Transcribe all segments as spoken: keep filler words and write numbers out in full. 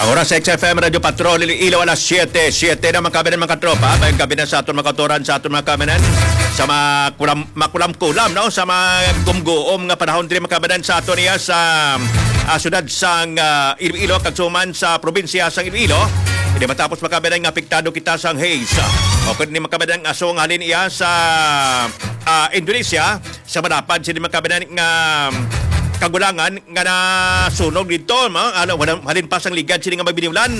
Ang oras sa X F M Radio Patrol Iloilo, alas siyete, siyete na, mga kabayan, mga katropa. Mayong gabi na sa aton mga kautoran, sa aton mga kabayan, sa makulam-, makulam-kulam, no? Sa mga gumguom nga panahon diri, mga kabayan, sa aton iya sa, ah, siyudad sang, ah, Iloilo, kag suman sa probinsya sang Iloilo. Hindi matapos, mga kabayan, nga apektado kita sang haze. O kung ni, mga kabayan, aso nga halin iya sa, ah, Indonesia, sa malapad sini, mga kabayan, nga kagulangan nga nasunog dito, ma-, ano, wala, halin pa sang ligad sini nga mga biniulan.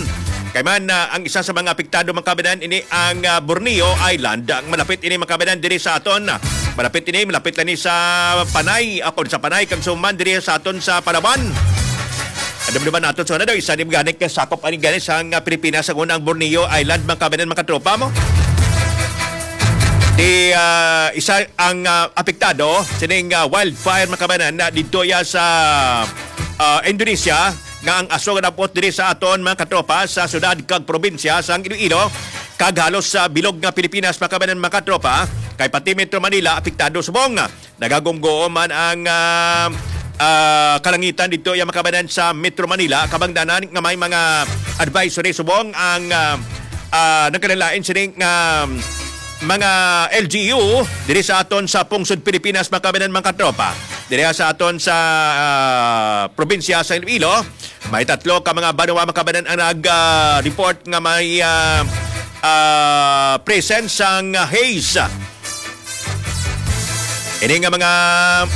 Kay man, ah, ang isa sa mga apektado, mga kabayan, ini ang, ah, Borneo Island. Ang malapit ini, mga kabayan, diri sa aton. Malapit ini, malapit lang ni sa Panay, ako sa Panay, kag suman diri sa aton sa Palawan. Dumduman naton sa una daw, isa ni gani ka sakop ani gani sa nga Pilipinas ang unang Borneo Island, mga kabayan, mga katropa mo. Di, ah, isa ang, ah, apektado sining, ah, wildfire, mga kabayan, na dito ya sa, ah, Indonesia, nga ang aso nga napot diri sa aton, mga katropa, sa syudad kag probinsya sang Iloilo, kag halos sa bilog nga Pilipinas, mga kabayan, mga katropa, kay pati Metro Manila apektado subong. Nagagumguo man ang, ah, ah, kalangitan dito, ya, mga kabayan, sa Metro Manila, kabangdanan nga may mga advisory subong ang, ah, ah, nagkalain sining, ah, mga L G U diri sa aton sa pungsod Pilipinas, mga kabayan, mga katropa. Diri sa aton sa, ah, probinsya sa Iloilo, may tatlo ka mga banwa, mga kabayan, ang nag, ah, report nga may, ah, ah, presence sang haze. Ini nga mga,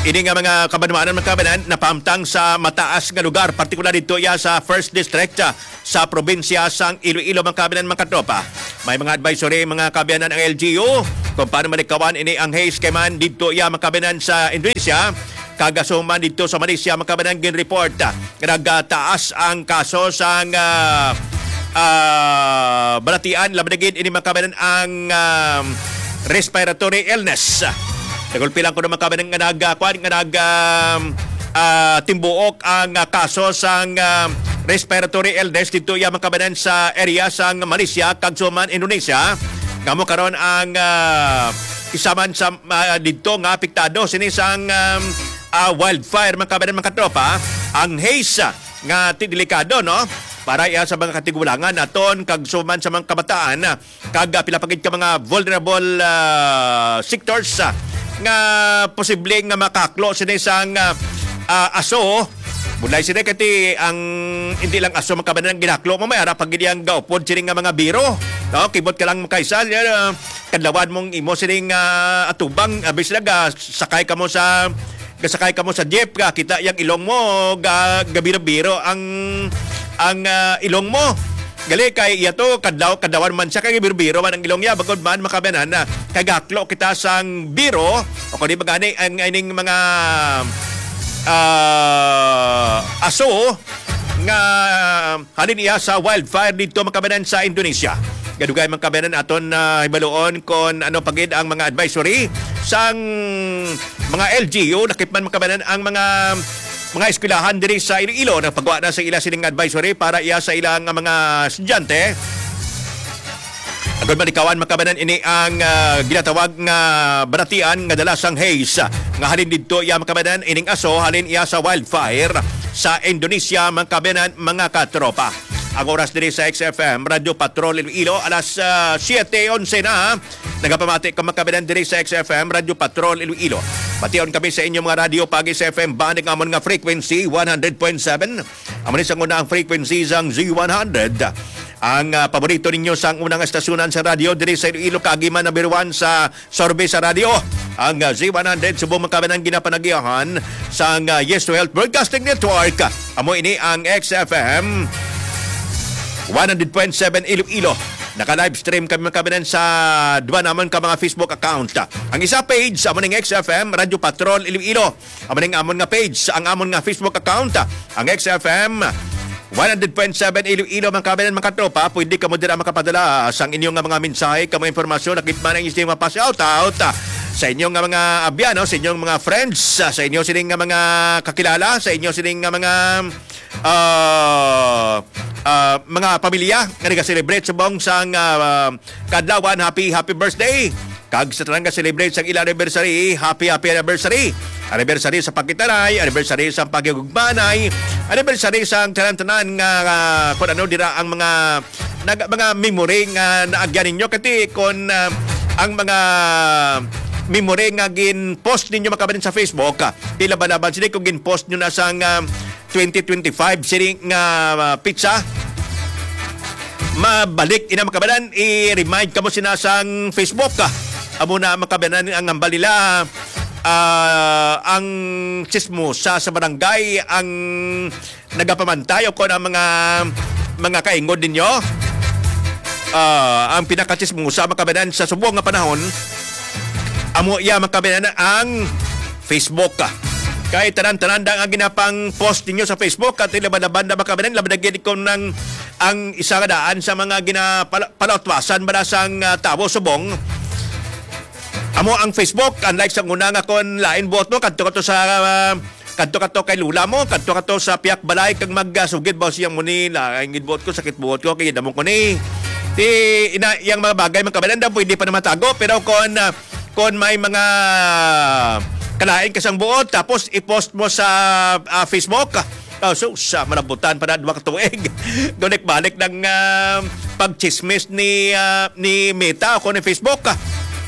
ini nga mga kabanwanan, mga kabayan, napahamtang sa mataas nga lugar, partikular dito ya sa First District, ah, sa probinsya sang Iloilo, mga kabayan, mga katropa. May mga advisory, mga kabayan, ang L G U kung paano malikawan ini ang haze kay man dito ya, mga kabayan, sa Indonesia, kag asuman dito sa Malaysia, mga kabayan, ginreport, ah, nga nagtaas ang kaso sang, ah, ah, balatian, labi na gid ini, mga kabayan, ang, ah, respiratory illness. Nagulpi lang ko ng mga kabayan nga nag, ah, kuwan, nga nag, ah, ah, timbuok ang, ah, kaso sang, ah, respiratory illness dito ya, mga kabayan, sa area sang Malaysia kag suman Indonesia. Nga mo karon ang, ah, isa man sa, ah, dito nga apektado sini sang, um, ah, wildfire, mga kabayan, mga katropa, ang haze, ah, nga ti-, delikado, no? Para iya sa mga katigulangan naton kag suman sa mga kabataan, ah, kag, ah, pila pa gid ka mga vulnerable, ah, sectors, ah, nga posible nga makaklo sini sang, ah, ah, aso. Bulay sini kay ti ang hindi lang aso, mga kabayan, ang ginaklo mo, may ara pa gid ang gaupod sini nga mga biro, no? Kibot ka lang makaisa, ah, kadlawan mong imo sining, ah, atubang, abi sila ga sakay ka mo sa, gasakay ka mo sa jeep, ga kita yang ilong mo, ga, gabiro-biro ang, ang, ah, ilong mo. Gali kay iya to, kadlaw, kadlawan man siya, kay biro-biro man ang ilong niya, bagod man, mga kabayan, na kay gaklo kita sang biro, o kung di ba gani, ang ining mga, ah, aso, nga halin iya sa wildfire dito, mga kabayan, sa Indonesia. Gadugay, mga kabayan, aton na hibaluon kon ano pa gid ang mga advisory sang mga L G U. Lakip man, mga kabayan, ang mga, mga eskwelahan diri sa Iloilo nagpagawa na sa ila sining advisory para iya sa ila nga mga estudyante. Agod malikawan, mga kabayan, ini ang, ah, ginatawag nga balatian nga dala sang haze, ah, nga halin didto iya, mga kabayan, ining aso halin iya sa wildfire sa Indonesia, mga kabayan, mga katropa. Ang oras diri sa X F M Radyo Patrol Iloilo, alas, ah, siete onse na. Nagapamati ka, mga kabayan, diri sa X F M Radyo Patrol Iloilo. Pation kami sa inyo mga radyo pagi sa F M band, ang amon nga frequency, one hundred point seven. Amo ni sang una ang frequency sang Z one hundred. Ang, ah, paborito ninyo sang unang estasyonan sa radyo diri sa Iloilo, kag imo number one sa survey sa radyo. Ang, ah, Z one hundred subong, mga kabayan, ang ginapanagihan sang, ah, Yes to Health Broadcasting Network. Amo ini ang X F M one hundred point seven Iloilo. Naka-live stream kami, mga kabayan, sa duha namon ka mga Facebook account. Ang isa page, amo ning X F M Radyo Patrol Iloilo. Amo ning amon nga page, ang amon nga Facebook account, ang X F M one hundred point seven Iloilo, mga kabayan, mga katropa. Pwede kamo dira makapadala sang inyo nga mga mensahe, kamo impormasyon, lakip man ang inyo mga pa-shoutout, ah, sa inyo nga mga abyan, no? Sa inyong mga friends, ah, sa inyo sining nga mga kakilala, sa inyo sining nga mga, ah, ah, mga pamilya nga nag-celebrate subong sang, ah, kadlawan. Happy, happy birthday! Kag sa tanan nga celebrate sang ila anniversary, happy, happy anniversary. Anniversary sa pagkitalay, anniversary sa paghigugmanay, anniversary sa tanan-tanan nga, nga kung ano dira ang mga nag-, mga memory nga naagyan ninyo. Kati kung, ah, ang mga memory nga gin-post ninyo, mga kababayan, sa Facebook, ah, ilaban-laban sini kung gin-post nyo na sang, ah, twenty twenty-five sini nga, ah, pizza. Mabalik ina, mga kababayan, i-remind kamo sina sang Facebook, ah. Amo na, mga kababayan, ang hambal nila, ah, ang chismosa sa barangay ang nagapamantay o kon ang mga, mga kaingod ninyo. Ah, ang pinakachismosa, mga kababayan, sa subong nga panahon, amo iya, mga kababayan, ang Facebook. Kay tanan-tanan da nga ginapang-post ninyo sa Facebook, at laban-laban na, mga kababayan, laban na gid kung nang ang isa nga daan sa mga ginapala-, palautwasan ba na sang, ah, tawo subong. Amo ang Facebook, unlike sa una nga kon lain buot mo, kadto ka to sa, ah, kadto ka to kay lula mo, kadto ka to sa piyak balay kag magsugid ba siya mo ni, "Lain gid buot ko, sakit buot ko, kay damo ko ni." Ti, ina, yang mga bagay, mga kababayan, daw pwede pa na matago, pero kon, ah, kon may mga kalain ka sang buot, tapos i-post mo sa, ah, Facebook, oh, sus, ah, malabutan pa na duha ka tuig. Gunik-balik ng, ah, pagchismis ni, ah, ni Meta o kon ni Facebook.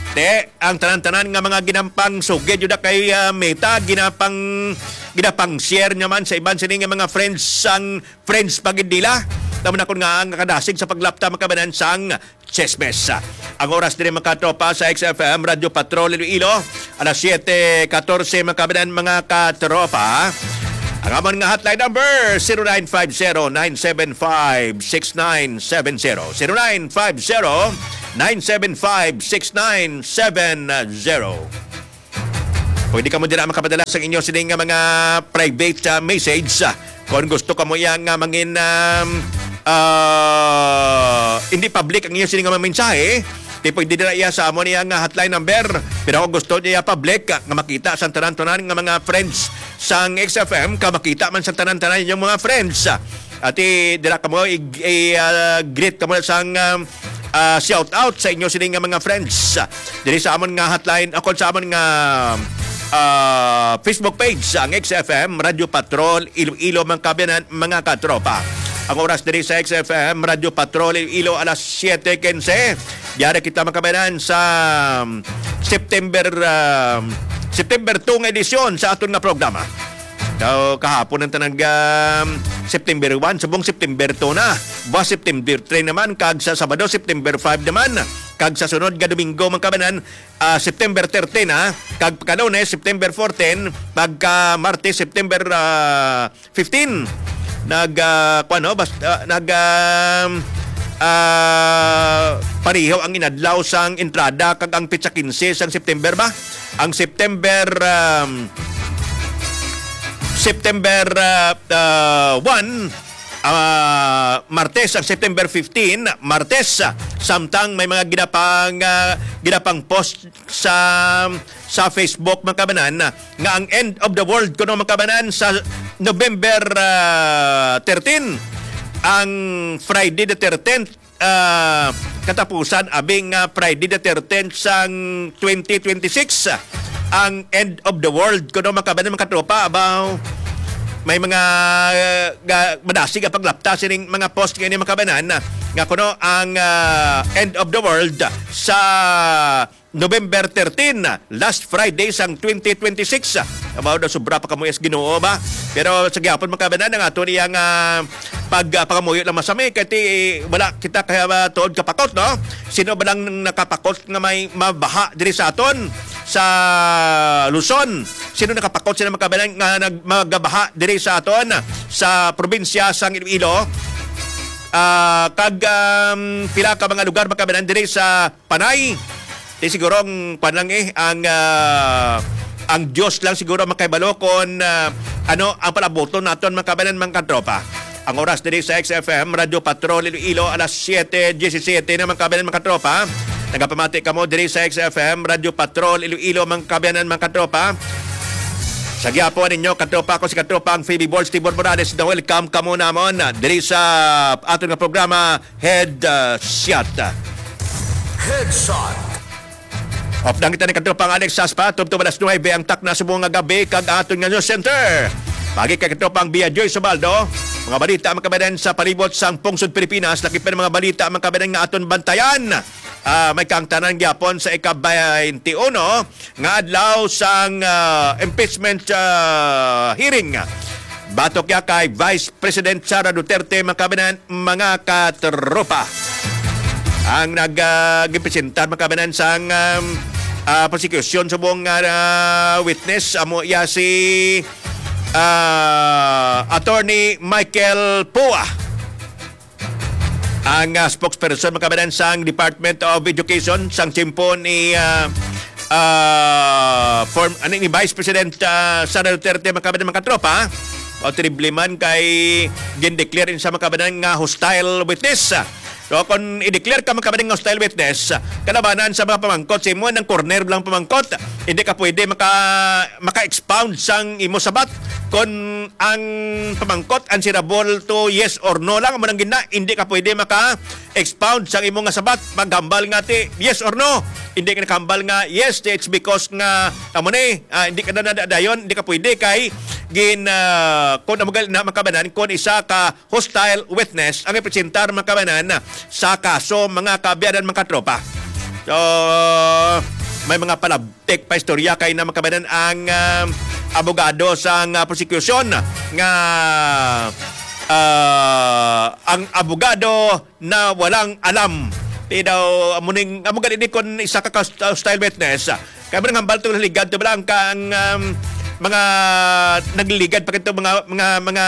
Te, ang tanan-tanan nga mga ginampang sugid yun na kay, ah, Meta, ginapang, ginapang share naman sa iban sini nga mga friends sang friends pa gid nila. Tama na kun nga ang kadasig sa paglapta, mga kababayan, sang chismis. Ang oras diri, mga katropa, sa X F M Radyo Patrol Iloilo, alas siyete katorse, mga kababayan, mga katropa. Ang amon nga hotline number, zero nine five zero, nine seven five, six nine seven zero. Zero nine five zero, nine seven five, six nine seven zero. Pwede kamo dira makapadala sa inyo sining nga mga private, ah, message, ah. Kung gusto kamo iya nga mangin, um, ah, hindi public ang inyo sining nga mga mensahe, di pwede dira iya sa amon iya nga hotline number. Pero kung gusto niya public, ah, nga makita sa tanan-tanan nga mga friends sang X F M, ka makita man sa tanan-tanan inyong mga friends, ah, ati dira kamo i, i, ah, greet kamo sang, um, ah, shout out sa inyo sini nga mga friends. Diri sa amon nga hotline, o kon sa amon nga, ah, Facebook page, ang X F M Radyo Patrol Iloilo, mga kababayan, mga katropa. Ang oras diri sa X F M Radyo Patrol Iloilo, alas siyete quince. Yari kita, mga kababayan, sa, um, September, um, September two nga edisyon sa aton nga programa. Daw kahapon ang tanang, um, September one, subong September two na. Buwas September three naman, kag sa Sabado, September five naman. Kag sa sunod nga Domingo, mga kababayan, ah, September thirteen, ha? Kag pagka Lunes, September fourteen, pagka Martes, September, ah, fifteen. Nag, ah, kuwan, no? Bas-, ah, nag, um, ah, pareho ang inadlaw sang entrada kag ang petsa quince sang September ba? Ang September, um, September, ah, ah, one, ah, Martes, ang September fifteen, Martes, ah, samtang may mga ginapang, ah, ginapang post sa, sa Facebook, mga kababayan, nga ang end of the world kuno, mga kababayan, sa November, ah, thirteen, ang Friday the thirteenth, ah, katapusan, abi nga Friday the thirteenth sang twenty twenty-six, ang end of the world kuno, mga kababayan, mga katropa, abaw, may mga, ah, ga-, madasig ang paglapta sining mga post nga ini, mga kababayan, nga kuno ang, ah, end of the world sa November thirteen, last Friday sang twenty twenty-six. Abaw, na sobra pa kamo is Ginoo ba? Pero sa gihapon, mga kababayan, ang ato niya nga pag, ah, pangamuyo lang masami kay ti, wala kita kaya, ah, tuod kapakot, no? Sino ba lang nakapakot nga may mabaha diri sa aton sa Luzon? Sino nakapakot sila, mga kababayan, nga nag-, magabaha diri sa aton sa probinsya sang Iloilo? Ah, kag, um, pila ka mga lugar, mga kababayan, diri sa Panay. Di siguro ang kwan lang eh, ang, ah, ang Diyos lang siguro makahibalo kon, ah, ano ang palabuton naton, mga kababayan, mga katropa. Ang oras diri sa X F M Radyo Patrol Iloilo, alas siyete diyesisiyete na, mga kababayan, mga katropa. Nagapamati kamo diri sa X F M Radyo Patrol Iloilo, mga kababayan, mga katropa. Sa gihapon ninyo, katropa ko si katropang Phoebe Balls, Tibor Morales, na welcome kamo namon diri sa aton nga programa, Headshot. Headshot. Update kita ni katropang Alex Saspa, tubtob alas nuebe ang takna subong nga gabi kag aton nga news center. Pagi kay katropang Bia Joy Subaldo, mga balita, mga kababayan, sa palibot sang pungsod Pilipinas, lakip pa mga balita, mga kababayan, nga aton bantayan. Ah, may kaangtanan gyapon sa ika-twenty-one nga adlaw sang, ah, impeachment, ah, hearing. Batok ya kay Vice President Sara Duterte, mga kababayan, mga katropa. Ang nag, ah, gipresentar, mga kababayan, sang, um, ah, prosecution subong nga, ah, witness, amo ya si, ah, Attorney Michael Poa. Ang, ah, spokesperson, mga kababayan, sang Department of Education sang tiyempo ni, ah, ah, form, ano, ni Vice President, ah, Sara Duterte, mga kababayan, mga katropa, o terrible man kay gindeclare sa, mga kababayan, nga hostile witness. So, kung i-declare ka, mga kababayan, nga hostile witness, kalabanan sa mga pamangkot sa imo, nang corner lang pamangkot, hindi ka pwede maka, maka-expound sang imo sabat. Kung ang pamangkot answerable to yes or no lang, amo nang gina, hindi ka pwede maka-expound sang imo nga sabat. Paghambal nga ti yes or no, hindi ka nakahambal nga yes, it's because nga amo ni, ah, hindi ka na nadadayon, hindi ka pwede kay gin, ah, kung amo gali na, mga kababayan, kung isa ka hostile witness ang ipresentar, mga kababayan, sa kaso, mga kaabyanan, mga katropa. So, may mga palabtik pa istorya kay na, mga kababayan, ang, ah, abogado sang, ah, prosecution nga, ah, ang abogado na walang alam. Di daw, amo ning, amo gani ni kon isa ka kas-, hostile witness. Kaya mo nang hambal to, ligad to ba lang ka ang, um, mga nagliligad pa kito, mga, mga, mga,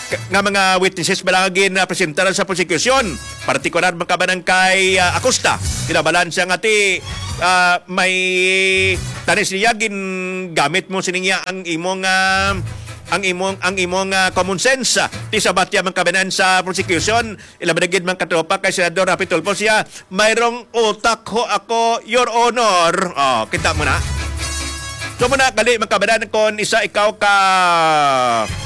nga mga witnesses ba lang gin, ah, presentaran sa prosecution? Partikular, mga kababayan, kay, ah, Acosta. Kinabalan siya nga ti, ah, may tanis niya, gin gamit mo sining iya ang imong, ah, ang imong, ang imong, ah, common sense. Ti sabat ya, mga kababayan, sa prosecution, ilabi na gid, mga katropa, kay Senador Raffy Tulfo siya, "Mayroong utak ho ako, Your Honor." Oh, kita mo na. So, muna, gali, mga kababayan, kung isa ikaw ka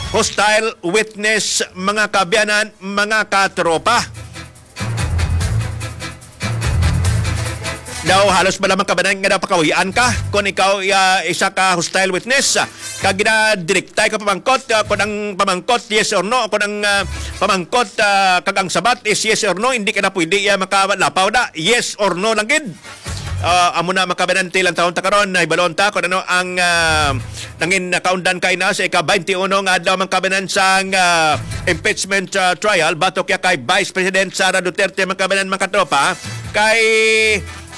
hostile witness, mga kaabyanan, mga katropa. Daw halos ba lamang, kababayan, nga daw pakawian ka kung ikaw, ah, isa ka hostile witness, ah, kag ginadirektay ka pamangkot, ah, kung ang pamangkot yes or no, kung ang, ah, pamangkot, ah, kag ang sabat is yes or no, hindi ka na pwede, ah, makalapaw na, yes or no lang gid. Ah, amo na, mga kababayan, ti lantawon ta karon, nahibalon ta kung ano ang, ah, nangin nakaundan kay na sa ika-twenty-one nga adlaw, mga kababayan, sang, ah, impeachment, ah, trial batok ya kay Vice President Sara Duterte, mga kababayan, mga katropa. Kay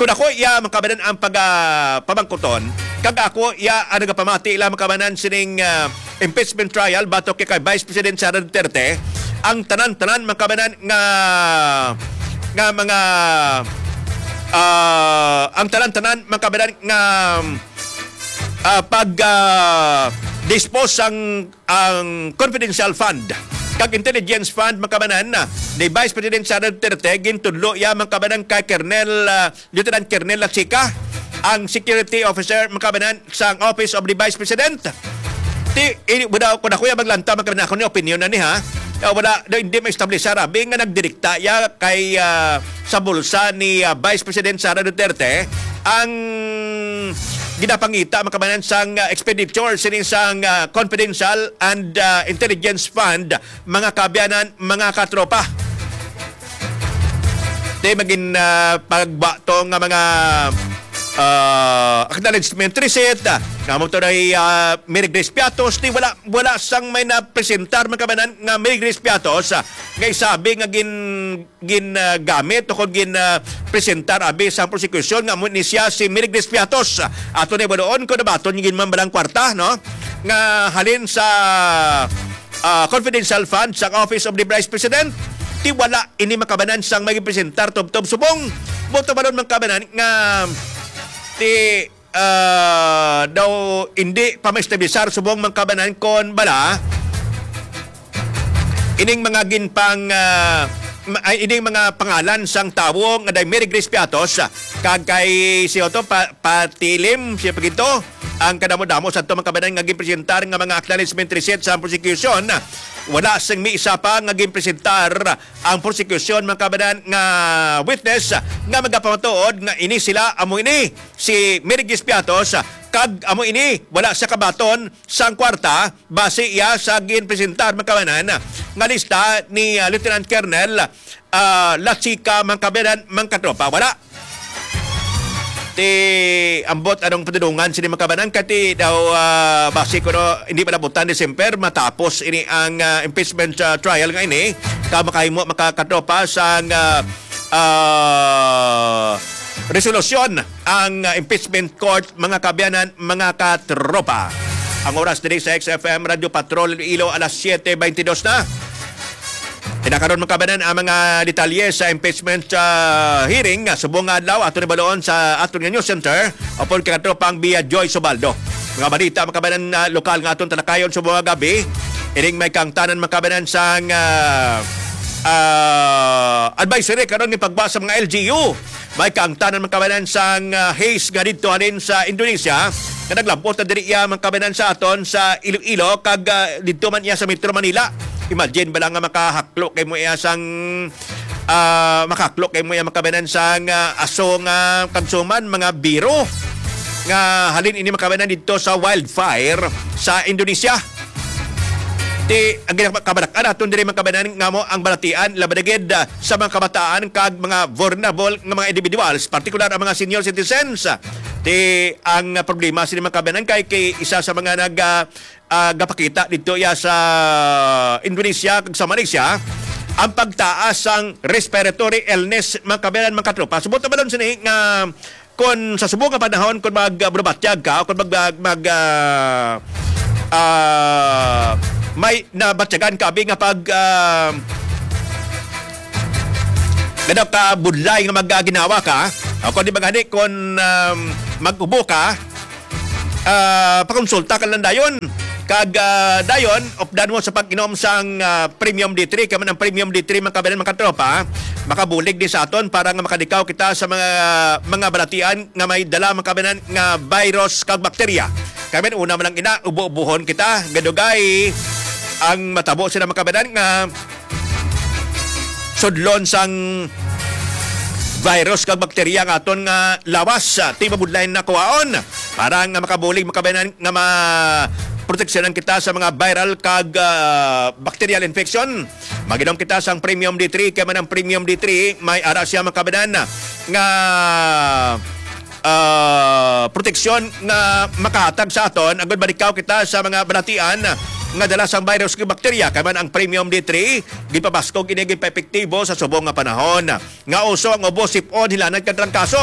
kung ako iya, mga kababayan, ang pag, ah, pamangkuton, kag ako iya ang nagapamati lang, mga kababayan, sining, ah, impeachment trial batok ya kay Vice President Sara Duterte, ang tanan-tanan, mga kababayan, nga, nga mga, ah, ang tanan-tanan, mga kababayan, nga, ah, pag, ah, dispose sang, ang confidential fund kag intelligence fund, mga kababayan, ni Vice President Sara Duterte, gintudlo iya, mga kababayan, kay Colonel, ah, Lieutenant Colonel Lachica, ang security officer, mga kababayan, sang Office of the Vice President. Ti, ini, wala ko na, kuya, maglanta, mga kababayan, ako ni opinion na ni, ha? Ah, wala, na, hindi ma-establish sa rabi nga nagdirekta ya kay, ah, sa bulsa ni, ah, Vice President Sara Duterte ang ginapangita, mga kababayan, sang, ah, expenditure sini sang, ah, confidential and, ah, intelligence fund, mga kaabyanan, mga katropa. Di magin, ah, pagbato nga mga, ah, acknowledgement receipt, ah, nga mo to na, ah, Mary Grace Piatos, di wala, wala sang may napresentar, mga kababayan, nga Mary Grace Piatos, ah, nga isabi nga gin-, gin, ah, gamit o kon gin, ah, presentar abi sa prosekusyon nga amo ni siya si Mary Grace Piatos. Ato ni baluon kung nabaton yung ginmambalang kwarta, no? Nga halin sa, ah, confidential fund sa Office of the Vice President, ti wala ini makabanan sang may presentar tubtob subong. Buto balon man kabanan nga ti, ah, daw hindi pa maestablisar subong man kabanan kon bala ining mga ginpang, ah, ma-, ay, ining mga pangalan sang tawo nga day Mary Grace Piatos, kag kay si Otto pa-, Patilim, siya pa gito, ang kadamo-damo sa ato mga kabanan nga ginpresentar nga mga acknowledgement receipt sa prosecution. Wala sing may isa pa nga ginpresentar ang prosecution, mga kabanan, nga witness nga magapamatuod nga ini sila, amo ini si Mary Grace Piatos, kag amo ini wala sa kabaton sang kwarta, base iya sa ginpresentar, mga kabanan, nga lista ni, ah, Lieutenant Colonel, ah, Lachica, mga kabanan, mga katropa. Wala. Ti ambot anong padulungan sini, mga kabanan, kay ti daw, ah, base kuno hindi palabutan December matapos ini ang, ah, impeachment, ah, trial nga ini, ka makahimo, mga katropa, sang, ah, ah, resolusyon ang, ah, impeachment court, mga kaabyanan, mga katropa. Ang oras diri sa X F M Radio Patrol Iloilo, alas siete beintidos na. Tinakaron, mga kaabyanan, ang mga detalye sa impeachment, ah, hearing, ah, subong nga adlaw, ato ni baloon sa aton nga news center, upod kay katropang Bia Joy Subaldo. Mga balita, mga kaabyanan, ah, lokal nga aton talakayon subong nga gab-i. Ining may kaangtanan, mga kaabyanan, sang, ah, ah, advisory karon ni pagwa sa mga L G U. May kaangtanan, mga kaabyanan, sang, ah, haze nga didto halin sa Indonesia, nga naglabot na diri iya, mga kaabyanan, sa aton sa Iloilo, kag, ah, didto man iya sa Metro Manila. Imagine ba lang nga makahaklo kay mo iya sang, ah, makahaklo kay mo iya, mga kaabyanan, sang, ah, aso nga kansuman, mga biro nga halin ini, mga kaabyanan, didto sa wildfire sa Indonesia. Ti, ang ginakabarak-an naton diri, mga kaabyanan, nga mo ang balatian, labi na gid, ah, sa mga kabataan kag mga vulnerable nga mga individuals, partikular ang mga senior citizens. Ti, ang problema sini, mga kaabyanan, kay, kay isa sa mga nag, ah, ah, gapakita didto iya sa Indonesia kag sa Malaysia ang pagtaas sang respiratory illness, mga kaabyanan, mga katropa. Subot na balon sini nga kon sa subong nga panahon, kon mag, ah, bulabatyag ka, o kon mag, mag, mag, ah, ah, may nabatyagan ka, abi, nga pag, ah, ganaw ka budlay nga mag, ah, ginawa ka, o kon di ba gani, kon, um, mag-ubo ka, ah, pakonsulta ka lang dayon. Kag, ah, dayon, updan mo sa pag-inom sang, ah, Premium D three. Kay man ang Premium D three, mga kaabyanan, mga katropa, makabulig di sa aton para nga makadikaw kita sa mga, mga balatian nga may dala, mga kaabyanan, nga virus kag bakterya. Kay man, una man lang ina, ubo-ubuhon kita, gadugay ang matabo sila, mga kaabyanan, nga sudlon sang virus kag bakterya nga aton nga lawas, ah, ti mabudlay na kuhaon para nga makabulig, mga kaabyanan, nga ma-, proteksyonan kita sa mga viral kag, ah, bacterial infection. Mag-inom kita sang Premium D three, kay man ang Premium D three, may ara siya, mga kaabyanan, nga ah, proteksyon nga makahatag sa aton, agud malikaw kita sa mga balatian nga dala sang virus kag bakterya. Kay man ang Premium D three, gipabaskog ini, gipaepektibo sa subong nga panahon nga uso ang ubo, sip-on, hilanat kag trangkaso.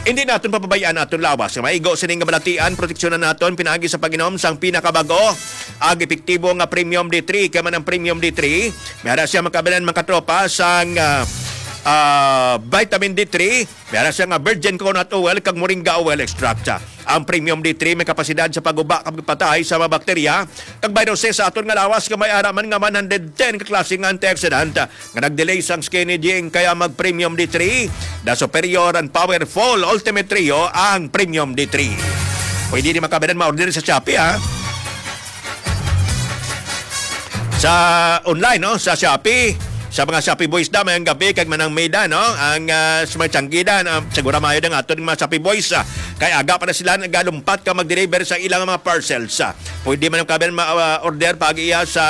Hindi naton papabayaan aton lawas nga maigo sini nga balatian. Proteksyonan naton pinaagi sa pag-inom sang pinakabag-o ag epektibo nga Premium D three. Kay man ang Premium D three, may ara siya, mga kaabyanan, mga katropa, sang, ah, ah, vitamin D three. May ara siya nga virgin coconut oil kag moringa oil extract. Ang Premium D three may kapasidad sa pagguba kag patay sa mga bakterya kag viruses sa aton nga lawas, nga may ara man nga one hundred ten ka klase nga antioxidant nga nag-delay sang skin aging. Kaya mag Premium D three, the superior and powerful Ultimate Trio, ang Premium D three. Pwede ni, mga kaabyanan, ma-order sa Shopee, ha? Sa online, no? Sa Shopee, sa mga Shopee boys da, mayang gabi, kag manang Meda, no? Ang, ah, sa mga tiyanggidan, ah, siguro maayo ang aton mga Shopee boys, ah, kay aga pa na sila nagalumpat ka mag-deliver sa ilang mga parcels, ah. Pwede man ang kaabyanan ma-, ah, order pag iya sa,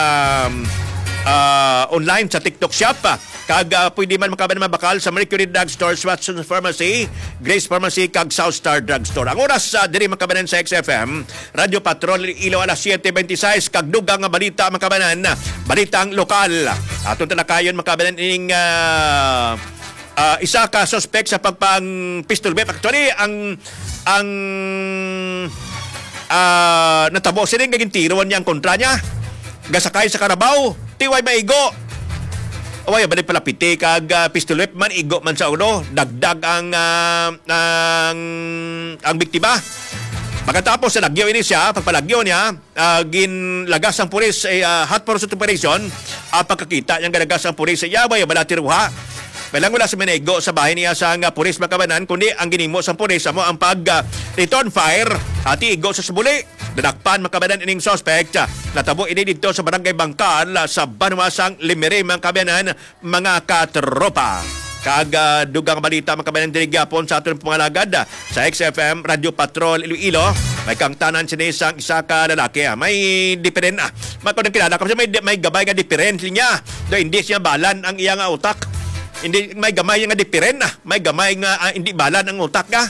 ah, online sa TikTok Shop, ah. Kag, ah, pwede man, mga kaabyanan, mabakal sa Mercury Drugstore, Watson's Pharmacy, Grace Pharmacy, kag South Star Drugstore. Ang oras, ah, diri, mga kaabyanan, sa X F M, Radyo Patrol Iloilo, alas siete beintiseis, kag dugang nga balita, mga kaabyanan, balitang lokal. Aton talakayon, mga kaabyanan, ining, ah, ah, isa ka suspek sa pagpang pistol whip. Actually, ang, ang, ah, natabo sini nga gintiroan niya ang kontra niya. Gasakay sa karabaw, ti way maigo. Way, balik pala piti kag, ah, pistol whip man, igo man sa ulo. Dagdag ang, ah, ang, ang biktima. Pagkatapos sa lagyo ini siya, pagpalagyo niya, ah, ginlagas sang pulis, eh, ah, hot pursuit operation, ang pagkakita niya nga lagas ang pulis sa iya, way bala tiruha. Kailang wala sa minaigo sa bahin niya sa nga pulis, mga kabanan, kundi ang ginimo sang pulis amo ang pag, ah, return fire, ati igo sa subuli. Nadakpan, mga kabanan, ining suspect. Natabo ini didto sa Barangay Bangkal, ah, sa banwa sang Limiri, mga kabanan, mga katropa. Kag, ah, dugang balita, mga kabanan, diri gyapon sa aton pangalagad, ah, sa X F M Radyo Patrol Iloilo. May kangtanan sini sang isa ka lalaki, ah. May diferen-, ah. May, kung kilala ko siya, may, may gamay nga diferense niya. Do, hindi siya balan ang iya nga utak. Hindi, may gamay nga diferen, ah. May gamay nga, ah, hindi balan ang utak ka.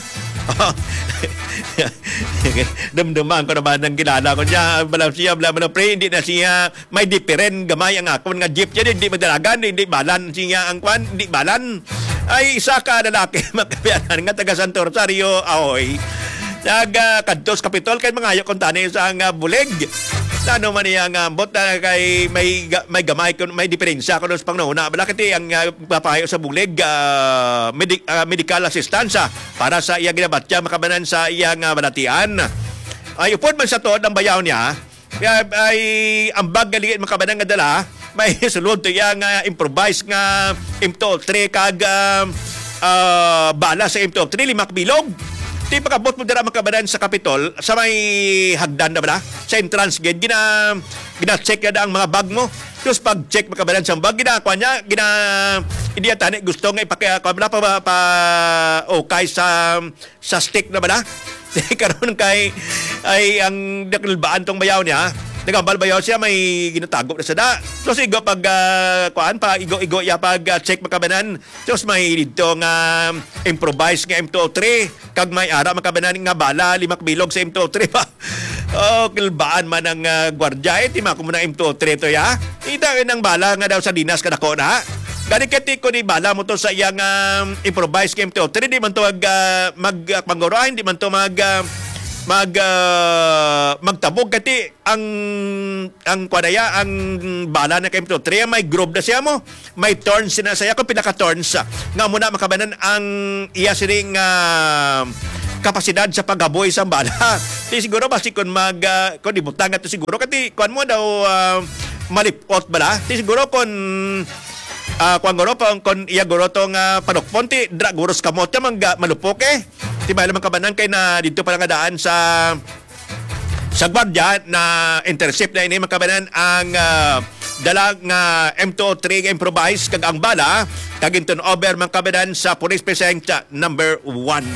Dumduman ko naman ang kilala ko niya. Bala siya, bala, bala, pre, hindi na siya may diferen gamay ang akon nga jeep yan, hindi madalagan, hindi balan siya ang kwan, hindi balan. Ay, isa ka lalaki, mga kabayanan, nga taga Santo Rosario, ahoy. Nagkadto sa Kapitol, kay mangayo kung tani sa nga bulig. Ano man niya nga ambot na kay may ga-, may gamay kun may diferensya kuno sa panghunahuna. Bala kay ang, ah, papayo sa bulig, ah, medi-, ah, medical assistance, ah, para sa iya ginabatya, mga kabanan, sa iya nga balatian. Ay, upod man sa tuod ang bayaw niya, ay, ay, ang bag nga lingit, mga kabanan, nga dala, may sulod to iya nga improvised nga M two oh three kag, ah, ah, bala sa M two oh three, lima ka bilog. Ti pag-abot mo dira, mga kabanan, sa Kapitol, sa may hagdan na bala, sa entrance gate, gina-, gina-check na ang mga bag mo. Tapos pag-check, mga kabanan, sa bag, ginakuha niya, gina-, hindi yan tani gusto nga ipaki-, kuha mo na pa, pa, okay sa sa stick na bala. Karon kay, ay, ang nakalbaan tong bayaw niya, nagambal bayaw siya, may ginatago na sa da. So, sigo pag, ah, kuan, pa igo-igo ya pag, ah, check, mga kabanan. Tapos may dito nga improvise nga M two oh three, kag may ara, mga kabanan, nga bala, lima ka bilog sa M two oh three pa. Oh, kalbaan man ang, ah, gwardya, eh, tima ko mo na M two oh three to, ya. Ita, eh, nang bala nga daw sa dinas ka dako na. Gani kay ti ko ni bala mo to sa iyang, ah, improvise game to. Tiri di man to mag, ah, mag, ah, pangguro, ah, hindi man to mag, ah, mag, ah, magtabog kay ti ang, ang kwanaya, ang bala na kay to. Tiri may groove na siya mo. May turns na siya kung pila ka turns, ah, nga muna makabanan ang iya sining, ah, kapasidad sa paghaboy sa bala. Di siguro basi kung mag, ah, kung ibutang nga to siguro kay ti kuan mo daw, ah, malipot bala. Di siguro kung, ah, kuan guro, kung, kung iya guro to nga panukpon, ti dra guro sa kamot ka, mangga-, malupok eh. Di ba, alam ang kabanan kay na dito pa lang daan sa, sa gwardiya na intercept na ini, mga kabanan, ang, ah, dala nga M two oh three nga improvise kag ang bala kag turn over, mga kabanan, sa police precinct number one.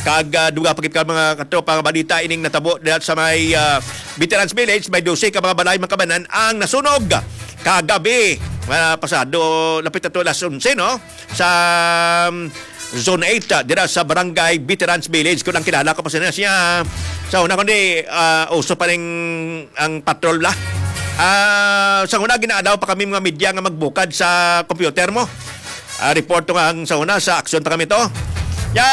Kag, ah, duga pa gid ka, mga katropa, nga balita ining natabo diha sa may, ah, Veterans Village, may dose ka mga balay, mga kabanan, ang nasunog kagabi, ah, pasado, lapit na to alas onse, no? Sa, um, Zone eight, ah, dira sa Barangay Veterans Village. Kung ang kilala ko pa siya, siya, sa una, kundi, ah, uso pa rin ang patrol, la. Ah, sa una, ginaalaw pa kami mga media nga magbukad sa computer mo. Ah, report to nga ang sa una, sa aksyon pa kami to. Ya,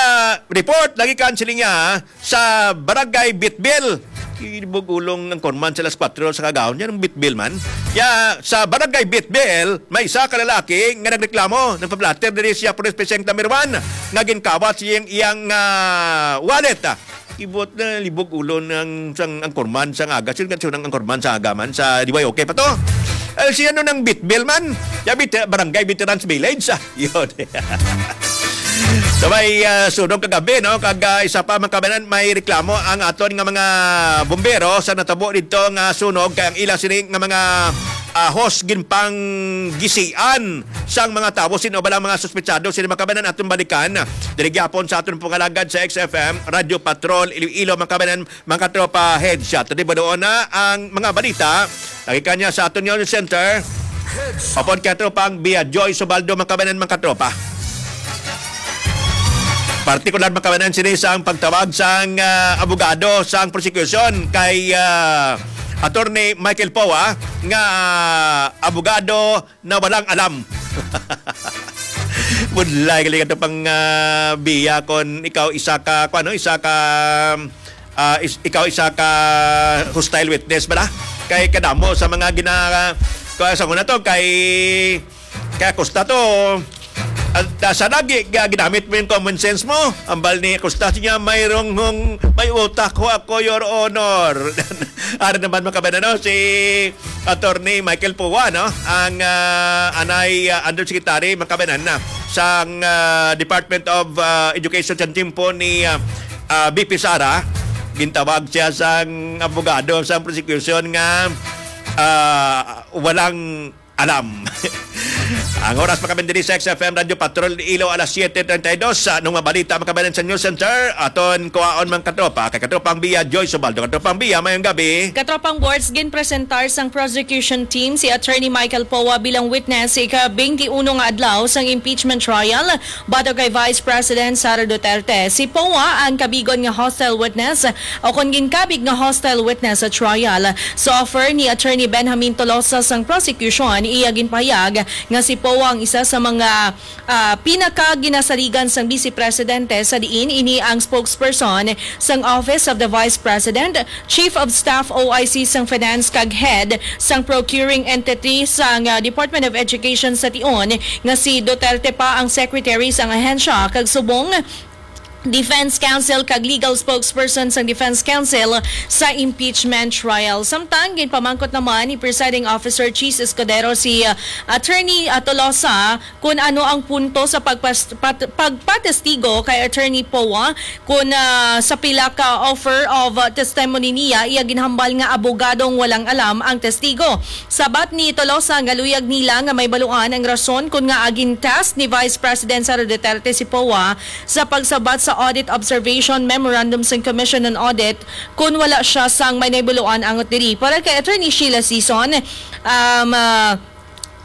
report, lagi kan sila niya, sa Barangay Bitbil. Ibog ulong ang korman sa alas kwatro sa kagahon. Yan ang Bitbil man. Ya, sa Barangay Bitbil, may isa ka lalaki nga nagreklamo, nagpa-blotter diri siya police precinct number one nga ginkawat siyang iyang, ah, wallet. Ibot na libog ulo ng sang angkorman sa aga. Sino ka ang angkorman sa aga man? Sa D Y O K pa to? Eh, si ano ng Bitbil man? Ya, Bit-, Barangay Veterans Village. Ah, yun. So may, ah, sunog kagabi, no? Kag, ah, isa pa, mga kabanan, may reklamo ang aton nga mga bumbero sa natabo dito nga sunog. Kay ang ila sini nga mga, ah, hose ginpanggisian sang mga tawo, sino ba lang mga suspetsado, sino, mga kabanan, aton balikan. Diri gyapon sa aton pangalagad sa X F M, Radyo Patrol, Iloilo, mga kabanan, mga katropa, headshot. Di ba doon na ang mga balita? Lagi kanya sa aton News Center. Apod kay tropang Bia Joy Subaldo, mga kabanan, mga katropa. Partikular, mga kabanan, sini sa ang pagtawag sang, ah, abogado sang prosecution kay, ah, Attorney Michael Poa nga, ah, abogado na walang alam. Budlay gali ka pang, ah, Bia, kon ikaw isa ka, kung ano, isa ka, ah, is-, ikaw isa ka hostile witness ba na? Kay kadamo sa mga gina-, kaya sa una to, kay, kay Acosta to, At, ah, sa lagi nga ginamit mo yung common sense mo, ambal ni Costas niya, "Mayroong hong, may utak ho ako, Your Honor." Ari naman, mga kababayan, ano, si Attorney Michael Pua, no? Ang, ah, anay, ah, undersecretary, mga kababayan, na sang, ah, Department of, ah, Education sa timpo ni, ah, ah, V P Sara. Gintawag siya sang abogado sa prosecution nga, ah, walang alam. Ang oras, mga kababayan, diri sa X F M Radio Patrol Iloilo, alas siyete treinta y dos. Sa anong mabalita, mga kababayan, sa News Center, aton kuhaon, mga katropa. Kay Katropang Bia, Joy Subaldo. Katropang Bia, mayong gabi. Katropang Boards, ginpresentar sang prosecution team si Attorney Michael Poa bilang witness sa ika-twenty-one nga adlaw sang impeachment trial batok kay Vice President Sara Duterte. Si Poa ang kabigon nga hostile witness o kon ginkabig nga hostile witness sa trial. Sa offer ni Attorney Benjamin Tolosa sang prosecution, iya ginpahayag nga si Poa ang isa sa mga, ah, pinakaginasaligan sang Vice Presidente, sa diin ini ang spokesperson sang Office of the Vice President, Chief of Staff, O I C sang Finance, kag head sang procuring entity sang, ah, Department of Education sa tion, nga si Duterte pa ang secretary sang ahensya, kag subong Defense Counsel kag legal spokesperson sang Defense Counsel sa impeachment trial. Samtang ginpamangkot naman ni Presiding Officer Chiz Escudero si, uh, Attorney, uh, Tolosa kung ano ang punto sa pagpas-, pat-, pagpatestigo kay Attorney Poa, kung, uh, sa pila ka offer of, uh, testimony niya, iya ginhambal nga abogadong walang alam ang testigo. Sabat ni Tolosa nga luyag nila nga mahibaluan ang rason kung ngaa gin-task ni Vice President Sara Duterte si Poa sa pagsabat sa Audit Observation Memorandum sang Commission on Audit, kun wala siya sang may nahibaluan angot diri. Para kay Attorney Sheila Sison, um, ah,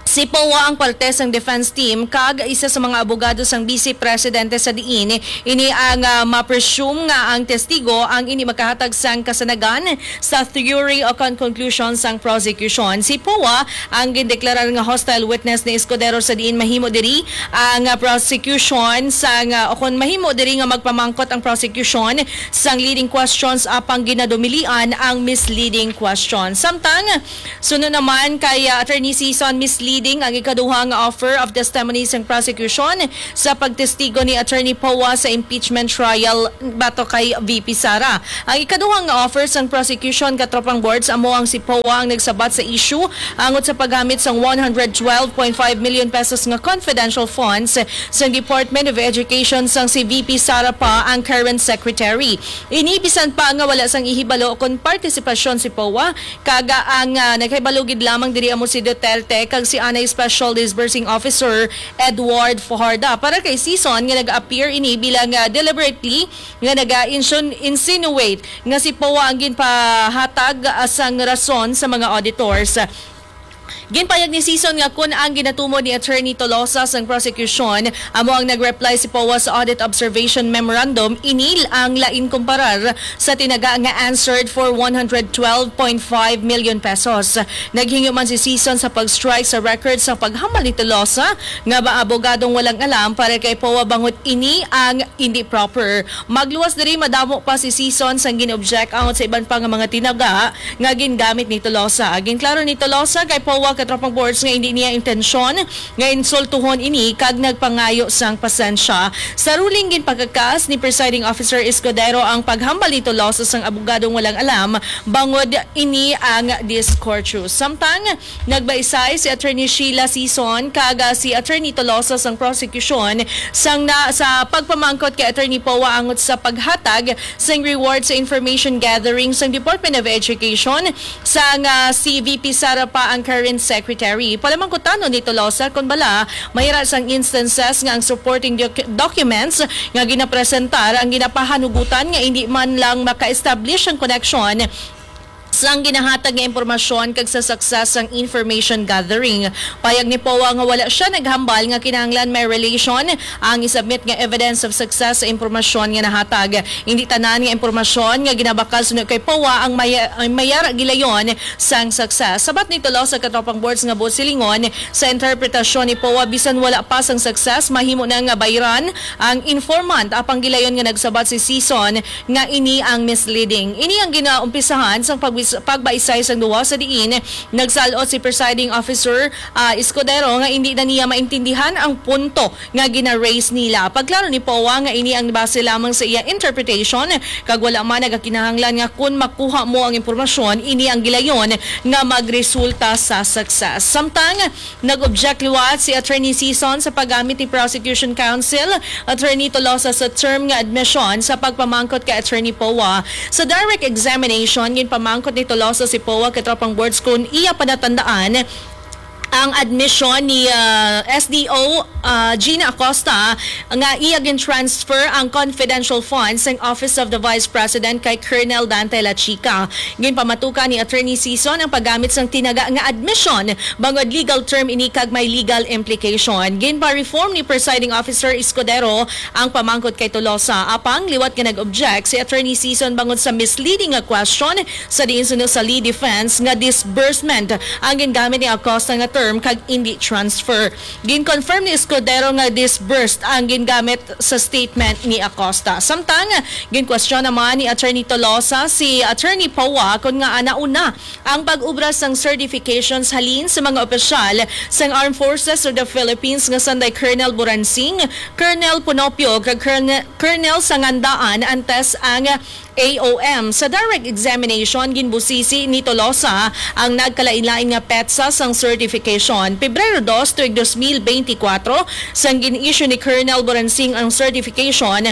si Poa ang parte sang defense team kag isa sa mga abogado sang Vice Presidente, sa diin ini ang, ah, ma-presume nga ang testigo ang indi makahatag sang kasanagan sa theory o kon conclusion sang prosecution. Si Poa ang gindeklarar nga hostile witness ni Escudero, sa diin mahimo diri ang, ah, prosecution sang, ah, o kon mahimo diri nga magpamangkot ang prosecution sang leading questions apang ginadumilian ang misleading questions. Samtang, sunod naman kay, ah, Attorney Sison, misleading ang ikaduha nga offer of testimony sang prosecution sa pagtestigo ni Attorney Poa sa impeachment trial batok kay V P Sara. Ang ikaduha nga offer sang prosecution, Katropang Boards, amo ang si Poa ang nagsabat sa issue angot sa paggamit sang one hundred twelve point five million pesos nga confidential funds sang Department of Education sang si V P Sara pa ang current secretary. Ini bisan pa nga wala sang ihibalo kon partisipasyon si Poa, kag ang, ah, nagahibalo gid lamang diri amo si Duterte kag si anay Special Disbursing Officer Edward Fajarda. Para kay Sison nga nag-appear ini bilang, ah, deliberately nga naga-insun-, insinuate nga si Poa ang ginpahatag, ah, sang rason sa mga auditors. Ginpayag ni Sison nga kun ang ginatumod ni Attorney Tolosa sang prosecution amo ang nag-reply si Poa sa Audit Observation Memorandum, ini ang lain kumparar sa tinaga nga answered for one hundred twelve point five million pesos. Naghingyo man si Sison sa pag-strike sa record sa paghambal ni Tolosa nga mga abogadong walang alam para kay Poa bangod ini ang hindi proper. Magluwas diri, madamo pa si Sison sang gin-object angot sa iban pa nga mga tinaga nga gingamit ni Tolosa. Ginklaro ni Tolosa kay Poa, Katropang Boards, nga hindi niya intensyon nga insultuhon ini kag nagpangayo sang pasensya. Sa ruling, ginpakakas ni Presiding Officer Escudero ang paghambal ni Tolosa sang abogadong walang alam bangod ini ang discourteous. Samtang nagbaisay si Attorney Sheila Sison kag, ah, si Attorney Tolosa sang prosecution sang na, sa pagpamangkot kay Attorney Poa angot sa paghatag sang reward sa information gathering sang Department of Education sang, ah, si V P Sara pa ang current secretary. Palamangkutanon ni Tolosa kon bala mayra sang instances nga ang supporting doc-, documents nga ginapresentar ang ginapahanugutan nga hindi man lang maka-establish ang koneksyon sang ginahatag nga impormasyon kag sa success sang information gathering. Payag ni Poa nga wala siya naghambal nga kinahanglan may relation ang isubmit nga evidence of success sa impormasyon nga nahatag. Hindi tanan nga impormasyon nga ginabakal suno kay Poa ang may, ang mayar gilayon sang success. Sabat ni Tolosa, Katropang Boards, nga buot silingon sa interpretasyon ni Poa, bisan wala pa sang success, mahimo na nga bayran ang informant. Apang gilayon nga nagsabat si Sison nga ini ang misleading. Ini ang ginaumpisahan sang pagwis-, pagbaisay sang duha sa diin nagsalot si Presiding Officer, ah, Escudero nga hindi na niya maintindihan ang punto nga gina-raise nila. Pagklaro ni Poa nga ini ang base lamang sa iya interpretation kag wala man nagakinahanglan nga kun makuha mo ang impormasyon, ini ang gilayon nga magresulta sa success. Samtang nag-object liwat si Attorney Sison sa paggamit ni Prosecution Counsel Attorney Tolosa sa term nga admission sa pagpamangkot kay Attorney Poa. Sa direct examination, ginpamangkot ni Tolosa si Poa kay Tropang Boards kung iya panatandaan ang admission ni, ah, S D O, ah, Gina Acosta nga iya gin-transfer ang confidential funds sang Office of the Vice President kay Colonel Dante Lachica. Ginpamatukan ni Attorney Sison ang paggamit sang tinaga nga admission bangod legal term ini kag may legal implication. Ginpa-reform ni Presiding Officer Escudero ang pamangkot kay Tolosa. Apang liwat nga nag-object si Attorney Sison bangod sa misleading nga question sa diin suno sa lead defense nga disbursement ang gingamit ni Acosta nga term kag indi transfer. Gin-confirm ni Escudero nga disbursed ang gingamit sa statement ni Acosta. Samtang, gin-question naman ni Attorney Tolosa si Attorney Poa kung ngaa nauna ang pag-obra sang certifications halin sa mga opisyal sang Armed Forces of the Philippines nga sanday Colonel Buransing, Colonel Punopio, kag Colonel, Colonel Sangandaan antes ang A O M. Sa direct examination, ginbusisi ni Tolosa ang nagkalain-lain nga petsa sang certification. Pebrero dos, tuig dos mil beintikwatro, sang gin-issue ni Colonel Buransing ang certification.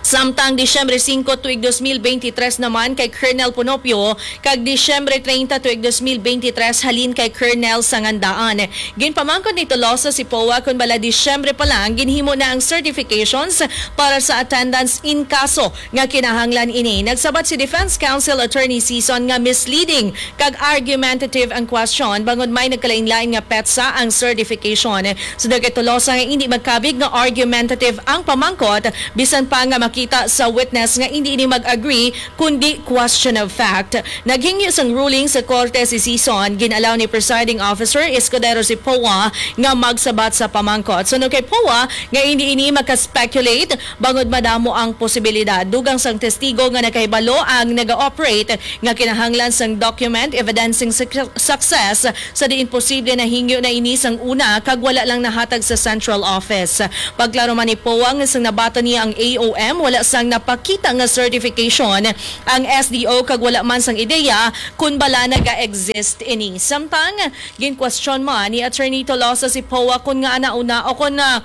Samtang Disyembre singko, tuig dos mil beintitres naman kay Colonel Punopio, kag Disyembre treinta, tuig dos mil beintitres, halin kay Colonel Sangandaan. Ginpamangkot ni Tolosa si Poa kung bala Disyembre pa lang ginhimo na ang certifications para sa attendance in kaso nga kinahanglan ini. Nagsabat si Defense Counsel Attorney Sison nga misleading kag argumentative ang question bangod may nagkalain-lain nga petsa ang certification. Suno kay Tolosa nga hindi magkabig nga argumentative ang pamangkot, bisan pa nga makita sa witness nga hindi ini mag-agree kundi question of fact. Naghingyo sang ruling sa korte si Sison, gin-allow ni Presiding Officer Escudero si Poa nga magsabat sa pamangkot. Suno kay Poa nga hindi ini maka-speculate bangod madamo ang posibilidad. Dugang sang testigo nga nakahibalo ang naga-operate nga kinahanglan sang document evidencing suc-, success sa diin posible nahingyo na ini sang una kag wala lang nahatag sa central office. Pagklaro man ni Poa nga sang nabata niya ang A O M, wala sang napakita nga certification ang S D O kag wala man sang ideya kun bala naga-exist ini. Samtang, ginkwestiyon man ni Attorney Tolosa si Poa kun ngaa nauna o kun, ah,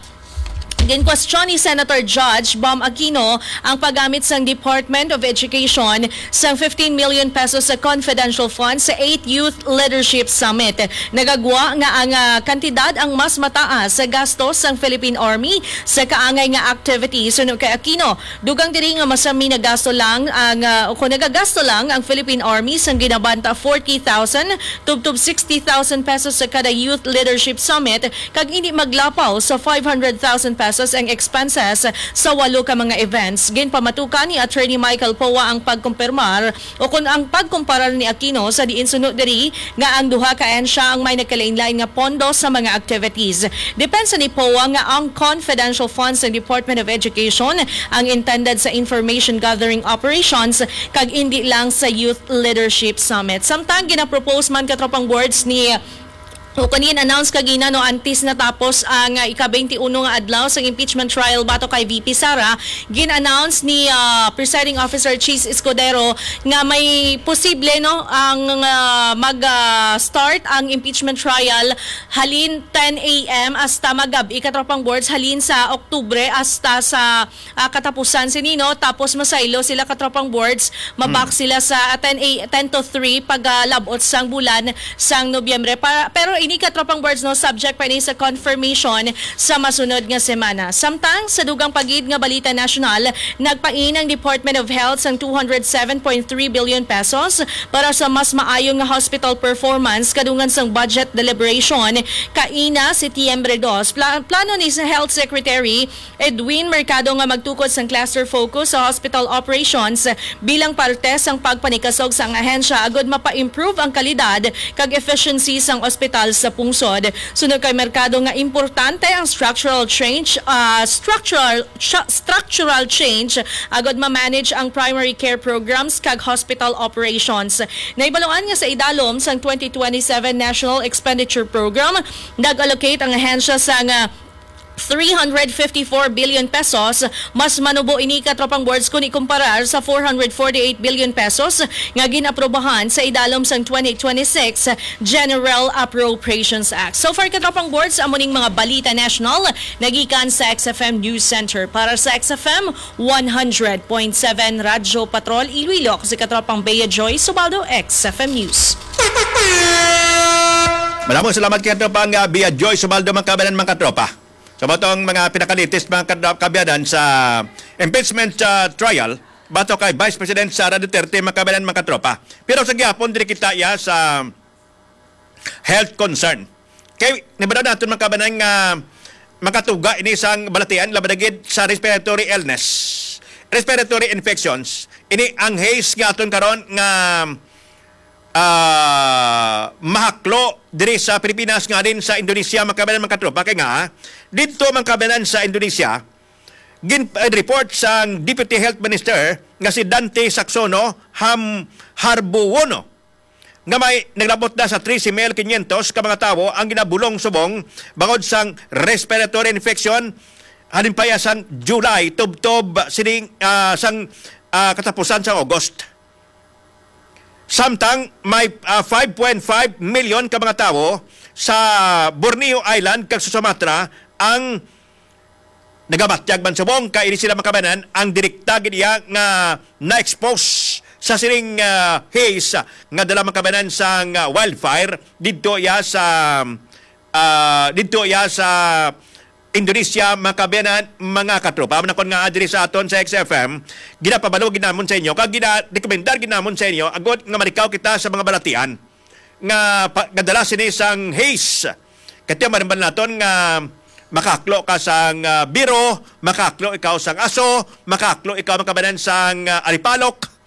ginkwestiyon ni Senator Judge Bam Aquino ang paggamit sang Department of Education sang fifteen million pesos sa confidential funds sa eighth Youth Leadership Summit. Nagagwa nga ang, ah, kantidad ang mas mataas sa gasto sang Philippine Army sa kaangay nga activities. Suno kay Aquino, dugang diri nga masami nagasto lang ang, ah, o kung nagagasto lang ang Philippine Army sang ginabanta forty thousand tubtob sixty thousand pesos sa kada Youth Leadership Summit, kag hindi maglapaw sa five hundred thousand pesos ang expenses sa walo ka mga events. Ginpamatukan ni Attorney Michael Poa ang pagkumpirmar o kung ang pagkumparar ni Aquino sa diin suno diri nga ang duha ka ahensya ang may nagkalain-lain nga pondo sa mga activities. Depensa ni Poa nga ang confidential funds ng Department of Education ang intended sa information gathering operations kag indi lang sa Youth Leadership Summit. Samtang ginapropose man, katropang boards, ni o kanin announce kagina, no, antes natapos ang, ah, ika-twenty-one nga adlaw sa impeachment trial batok kay V P Sara, gin-announce ni, ah, Presiding Officer Chiz Escudero nga may posible, no, ang, ah, mag, ah, start ang impeachment trial halin ten a m hasta magab-i, katropang boards, halin sa Oktubre hasta sa ah, katapusan sini, no? Tapos masaylo sila, katropang boards, mabak Hmm. sila sa, ah, ten a, ten to three pag, ah, labot sang bulan sang Nobyembre. Pa-, pero ini, katropang boards, no, subject pa ini sa confirmation sa masunod nga semana. Samtang sa dugang pa gid nga balita nasyonal, nagpain ang Department of Health sang two hundred seven point three billion pesos para sa mas maayo nga hospital performance kadungan sang budget deliberation kaina, Setyembre dos. Pla-, plano ni sa Health Secretary Edwin Mercado nga magtukod sang cluster focus sa hospital operations bilang parte sang pagpanikasog sang ahensya agud mapa-improve ang kalidad kag efficiency sang ospital sa pungsod. Suno kay Mercado nga importante ang structural change, ah, structural, stra-, structural change agod ma-manage ang primary care programs kag hospital operations. Nahibaluan nga sa idalom sang twenty twenty-seven National Expenditure Program, nag-allocate ang ahensya sang three hundred fifty-four billion pesos. Mas manubo ini, Katropang Boards, kung ikumparar sa four hundred forty-eight billion pesos nga gin-aprobahan sa idalom sang twenty twenty-six General Appropriations Act. So far, Katropang Boards, amo ning mga balita national nagikan sa X F M News Center. Para sa X F M one hundred point seven Radyo Patrol Iloilo, si Katropang Bea Joy Subaldo, X F M News. Maraming salamat kay Katropang, ah, Bea Joy Subaldo, mga kabayan, mga katropa. Sa matong mga pinaka-latest, mga kad-, kabiyanan sa impeachment, ah, trial batok kay Vice President Sara Duterte, mga kabayan, mga katropa. Pero sa gihapon, diri kita iya sa health concern. Kay nabada naton, mga kabayan, nga makatuga ini sang balatian, labi na gid sa respiratory illness, respiratory infections. Ini ang haze nga aton karon nga ah, mahaklo diri sa Pilipinas nga din sa Indonesia, mga kabayan, mga katropa. Kay nga, didto, mga kabayan, sa Indonesia, gin-, eh, report sang Deputy Health Minister nga si Dante Saxono Ham Harbuono nga may naglabot na sa trese mil quinientos ka mga tawo ang ginabulong subong bangod sang respiratory infection halin pa iya sang July tubtob sining, ah, sang, ah, katapusan sang August. Samtang may, ah, five point five million ka mga tawo sa Borneo Island kag sa Sumatra ang nagabatyag man subong kay ini sila, mga kabayan, ang direkta gid iya nga na-expose sa sining, ah, haze nga dala, mga kabayan, sang, ah, wildfire didto iya sa, ah, didto iya sa Indonesia, mga kabayan, mga katropa. Manakon nga diri sa aton sa X F M, ginapabalo gid namon sa inyo, kag ginarekomendar gid namon sa inyo, agod nga malikaw kita sa mga balatian nga pa-, gadala sini sang haze. Katiyo, marimbal naton nga makaklo ka sang, ah, biro, makaklo ikaw sang aso, makaklo ikaw, mga kabayan, sang, ah, alipalok,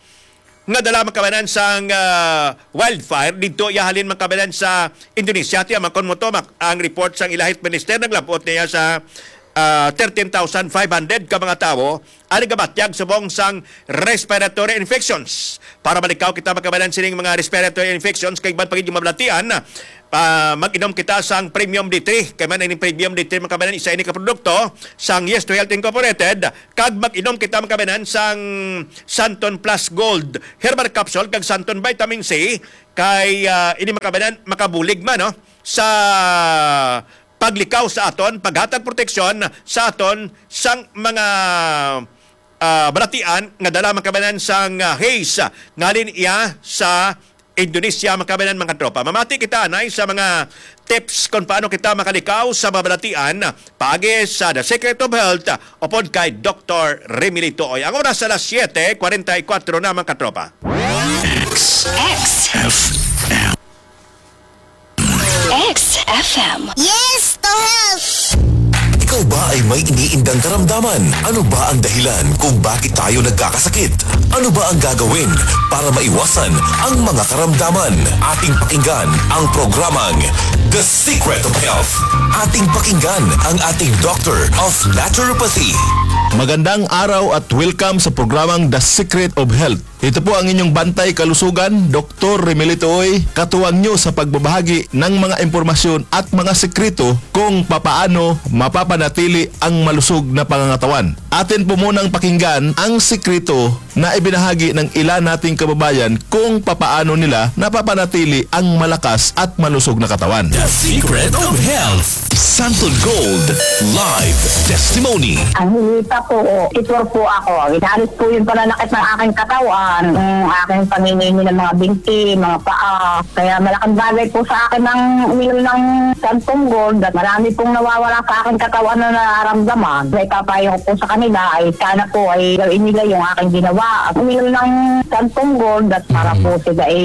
nga dala, mga kabayan, sang, ah, wildfire didto iya halin, mga kabayan, sa Indonesia. Tiya, makon mo to, mak-, ang report sang ila health minister, naglabot niya sa, ah, thirteen thousand five hundred ka mga tawo ang nagabatyag subong sang respiratory infections. Para malikaw kita, mga kabayan, sining mga respiratory infections kay iban pa gid yung mabalatian, ah, mag-inom kita sang Premium D three. Kay man ining Premium D three, mga kabayan, isa ini ka produkto sang Yes to Health Incorporated. Kag mag-inom kita, mga kabayan, sang Santon Plus Gold Herbal Capsule kag Santon Vitamin C kay, ah, ini, mga kabayan, makabulig man, no, sa paglikaw sa aton, paghatag proteksyon sa aton sang mga, ah, balatian nga dala, mga kabayan, sang, ah, haze ngalin iya sa Indonesia, mga kabayan, mga tropa. Mamati kita anay sa mga tips kung paano kita makalikaw sa mga balatian paagi sa The Secret of Health upod kay Doktor Remilito Oy. Ang oras alas siete cuarenta y cuatro na, mga katropa. X. X. F M. X F M. Yes to health! Ikaw ba ay may iniindang karamdaman? Ano ba ang dahilan kung bakit tayo nagkakasakit? Ano ba ang gagawin para maiwasan ang mga karamdaman? Ating pakinggan ang programang The Secret of Health. Ating pakinggan ang ating Doctor of Naturopathy. Magandang araw at welcome sa programang The Secret of Health. Ito po ang inyong bantay kalusugan, Doktor Remilito Uy, katuwang nyo sa pagbabahagi ng mga impormasyon at mga sekreto kung papaano mapapanatili ang malusog na pangangatawan. Atin po munang pakinggan ang sekreto na ibinahagi ng ilan nating kababayan kung papaano nila napapanatili ang malakas at malusog na katawan. The Secret of Health. Santon Gold Live Testimony. Ang hinita po, titor po ako. Inalis po yung pananakit ng aking katawan, yung aking panginginig ng mga binti, mga paa. Kaya malaking bagay po sa akin ang uminom ng Santon Gold at marami pong nawawala sa aking katawan na nararamdaman. May papayo ko po sa kanila ay sana po ay gawin nila yung aking ginawa. Uminom ng Santon Gold at para po sila ay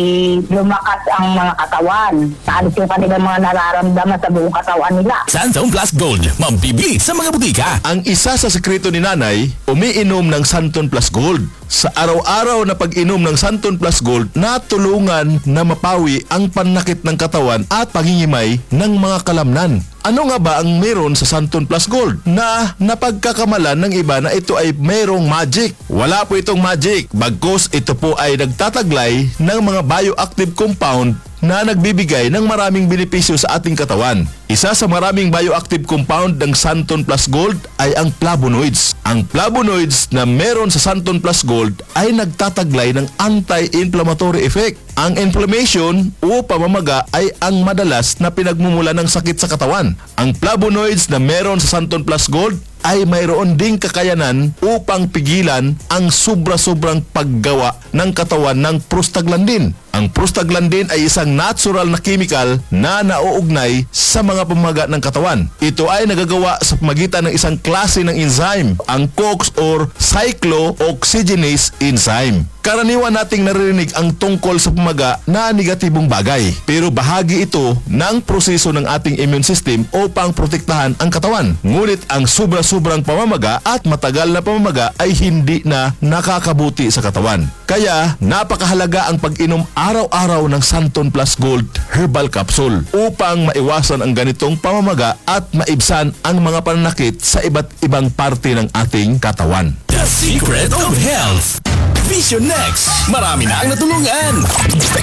lumakas ang mga katawan. Naalis yung kanilang mga nararamdaman sa buong katawan nila. Santon Plus Gold, mabibili sa mga butika. Ang isa sa sekreto ni Nanay, umiinom ng Santon Plus Gold. Sa araw-araw na pag-inom ng Santon Plus Gold, natulungan na mapawi ang panakit ng katawan at pangingimay ng mga kalamnan. Ano nga ba ang meron sa Santon Plus Gold na napagkakamalan ng iba na ito ay mayroong magic? Wala po itong magic, bagkus ito po ay nagtataglay ng mga bioactive compound na nagbibigay ng maraming benepisyo sa ating katawan. Isa sa maraming bioactive compound ng Santon Plus Gold ay ang flavonoids. Ang flavonoids na meron sa Santon Plus Gold ay nagtataglay ng anti-inflammatory effect. Ang inflammation o pamamaga ay ang madalas na pinagmumula ng sakit sa katawan. Ang flavonoids na meron sa Santon Plus Gold ay mayroon ding kakayanan upang pigilan ang sobra-sobrang paggawa ng katawan ng prostaglandin. Ang prostaglandin ay isang natural na chemical na nauugnay sa mga pamaga ng katawan. Ito ay nagagawa sa pamagitan ng isang klase ng enzyme, ang COX or cyclooxygenase enzyme. Karaniwan nating naririnig ang tungkol sa pamaga na negatibong bagay, pero bahagi ito ng proseso ng ating immune system upang protektahan ang katawan. Ngunit ang sobra-sobrang pamamaga at matagal na pamamaga ay hindi na nakakabuti sa katawan. Kaya napakahalaga ang pag-inom araw-araw ng Santon Plus Gold Herbal Capsule upang maiwasan ang ganitong pamamaga at maibsan ang mga pananakit sa iba't ibang parte ng ating katawan. The Secret of Health. Vision X. Marami na ang natulungan.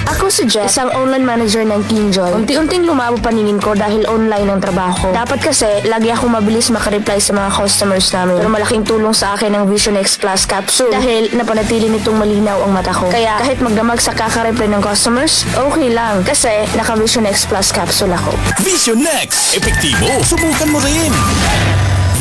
Ako si Jess, isang online manager ng Teen Joy. Unti-unting lumabo paningin ko dahil online ang trabaho. Dapat kasi, lagi akong mabilis makareply sa mga customers namin. Pero malaking tulong sa akin ang Vision X Plus capsule dahil napanatili nitong malinaw ang mata ko. Kaya kahit magdamag sa kakareply ng customers, okay lang kasi naka Vision X Plus capsule ako. Vision X. Epektibo. Subukan mo rin.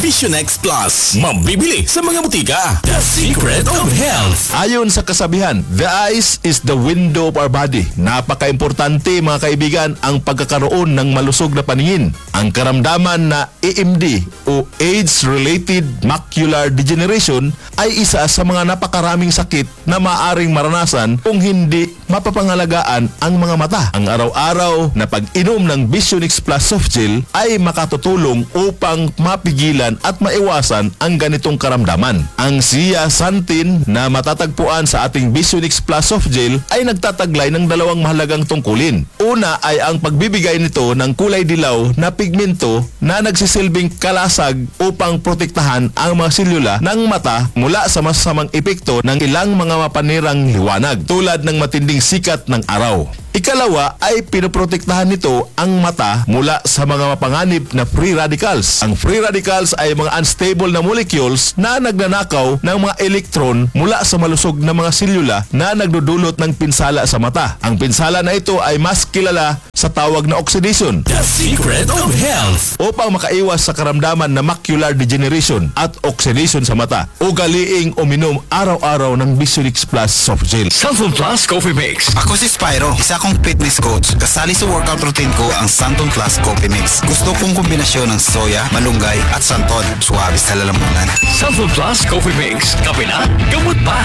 Vision X Plus. Mabibili sa mga butika. The Secret of Health. Ayon sa kasabihan, the eyes is the window of our body. Napakaimportante, mga kaibigan, ang pagkakaroon ng malusog na paningin. Ang karamdaman na A M D o age-related macular degeneration ay isa sa mga napakaraming sakit na maaring maranasan kung hindi mapapangalagaan ang mga mata. Ang araw-araw na pag-inom ng Vision X Plus Soft Gel ay makatutulong upang mapigilan at maiwasan ang ganitong karamdaman. Ang zeaxanthin na matatagpuan sa ating Vision X Plus Soft Gel ay nagtataglay ng dalawang mahalagang tungkulin. Una ay ang pagbibigay nito ng kulay dilaw na pigmento na nagsisilbing kalasag upang protektahan ang mga selula ng mata mula sa masasamang epekto ng ilang mga mapanirang liwanag, tulad ng matinding sikat ng araw. Ikalawa ay pinoprotektahan nito ang mata mula sa mga mapanganib na free radicals. Ang free radicals ay mga unstable na molecules na nagnanakaw ng mga elektron mula sa malusog na mga selula na nagdudulot ng pinsala sa mata. Ang pinsala na ito ay mas kilala sa tawag na oxidation. The Secret of Health. Upang makaiwas sa karamdaman na macular degeneration at oxidation sa mata, ugaliing uminom araw-araw ng Vision X Plus Soft Gel. Santon Plus Coffee Mix. Ako si Spyro, isa kong fitness coach. Kasali sa workout routine ko ang Santon Plus Coffee Mix. Gusto kong kombinasyon ng soya, malunggay, at santon. Suabe sa lalamunan. Santon Plus Coffee Mix. Kape na, gamot pa.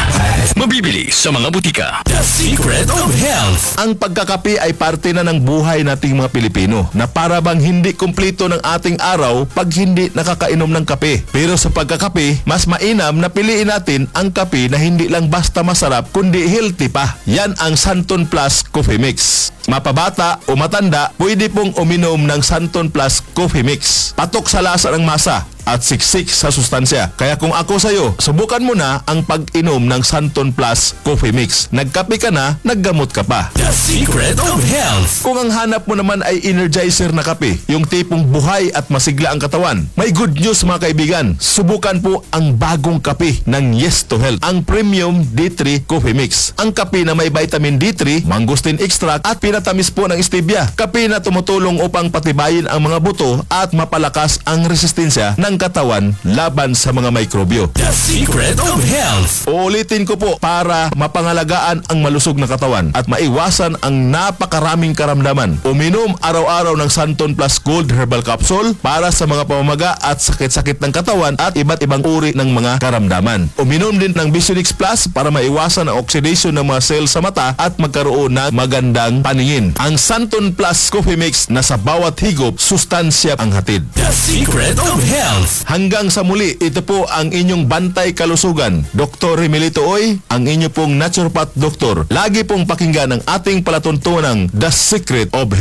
Mabibili sa mga butika. The Secret of Health. Ang pagkakape ay parte na ng buhay nating mga Pilipino na para bang hindi kumplito ng ating araw pag hindi nakakainom ng kape. Pero sa pagkakape, mas mainam na piliin natin ang kape na hindi lang basta masarap kundi healthy pa. Yan ang Santon Plus Coffee Mix. Mapabata o matanda, pwede pong uminom ng Santon Plus Coffee Mix. Patok sa lasa ng masa at siksik sa sustansya. Kaya kung ako sa'yo, subukan mo na ang pag-inom ng Santon Plus Coffee Mix. Nagkape ka na, naggamot ka pa. The Secret of Health. Kung ang hanap mo naman ay energizer na kape, yung tipong buhay at masigla ang katawan, may good news, mga kaibigan. Subukan po ang bagong kape ng Yes to Health, ang Premium D three Coffee Mix. Ang kape na may vitamin D three, mangosteen extract at pinatamis po ng stevia. Kape na tumutulong upang patibayin ang mga buto at mapalakas ang resistensya ng katawan laban sa mga mikrobyo. The Secret of Health. Uulitin ko po, para mapangalagaan ang malusog na katawan at maiwasan ang napakaraming karamdaman, uminom araw-araw ng Santon Plus Gold Herbal Capsule para sa mga pamamaga at sakit-sakit ng katawan at iba't ibang uri ng mga karamdaman. Uminom din ng Visionix Plus para maiwasan ang oxidation ng mga cells sa mata at magkaroon ng magandang paningin. Ang Santon Plus Coffee Mix na sa bawat higop, sustansya ang hatid. The Secret of Health. Hanggang sa muli, ito po ang inyong bantay kalusugan, Doktor Remilito Oy, ang inyo pong naturopath doktor. Lagi pong pakinggan ang ating palatuntunang The Secret of Health.